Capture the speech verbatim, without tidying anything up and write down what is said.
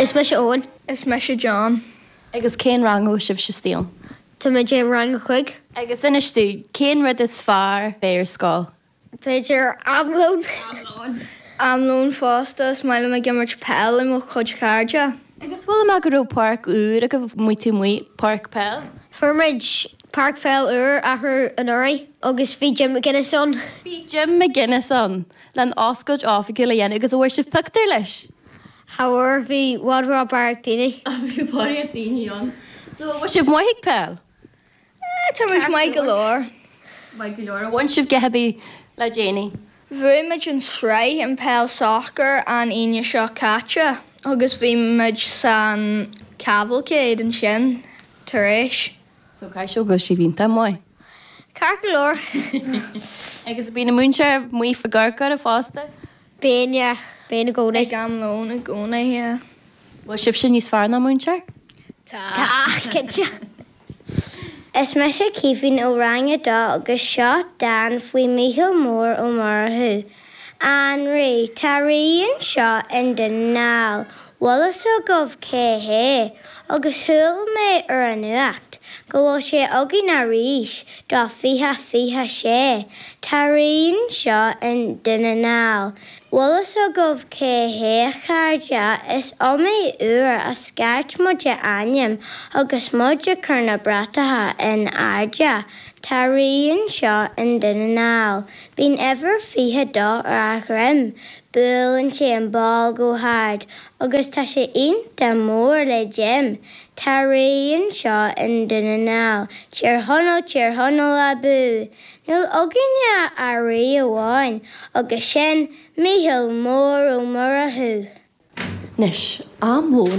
Is mise Eoin. Is mise John. Agus cén rang a bhfuil sibh istigh ann? Tá mé i rang a cúig. Agus inis dúinn, cén rud is fearr bheith ar scoil? B'fhéidir am lóin. Am lóin fosta is maith liom ag imirt peil le mo chuid cairde. Agus chuala mé go raibh páirc úr agaibh amuigh taobh amuigh páirc peil? Fuair muid páirc pheil úr arú anuraidh agus bhí Jim McGuinness ann. Bhí Jim McGuinness ann le oscailt oifigiúil a dhéanamh agus bhfuair sibh pictiúr leis. Cha bhfuair bhí bhfad barraíocht daoine. Bhí barraíocht daoine ann. So bhfuil sibh maith ag peil? Tá muid maith go leor. Maith go leor, bhain sibh rud ar bith le déanaí. Bhuaigh muid an sraith an peil soccer an Aoine seo caite agus bhí muid san cavalcade ansin tar éis. So caithfidh go bhfuil sibh iontach maith. Ceart go leor. Agus bíonn an múinteoir amuigh fá gcorcáir fosta? Bíonn bíonn i gcónaí. Ag am lóin i gcónaí. Bhfuil sibh sin níos fearr ná múinteoir? Tá cinnte. Is mise Caoimhín ó rang a dó agus seo dán faoi Mícheál Mór Ó Murchú. An rí tá rí anseo i nDún na nGall, Bhfuil fhios agaibh cé hé, agus chuala mé ar an nuacht go bhfuil sé againn arís do fiche fiche sé, Tá rí anseo i nDún na nGall. Bhfuil fhios agaibh cé hé a chairde is iomaí uair a scairt muid a ainm agus muid ag cur na bratacha in airde, Tá rí anseo i nDún na nGall, Bíonn uimhir fiche dó ar a dhroim, Buaileann sé an ball go hard agus tá sé iontach mór le Jim, Tá rí anseo i nDún na nGall, Tír Chonaill Tír Chonaill abú. Níl againne ach rí amháin agus sin Mícheál Mór Ó Murchú. Anois am lóin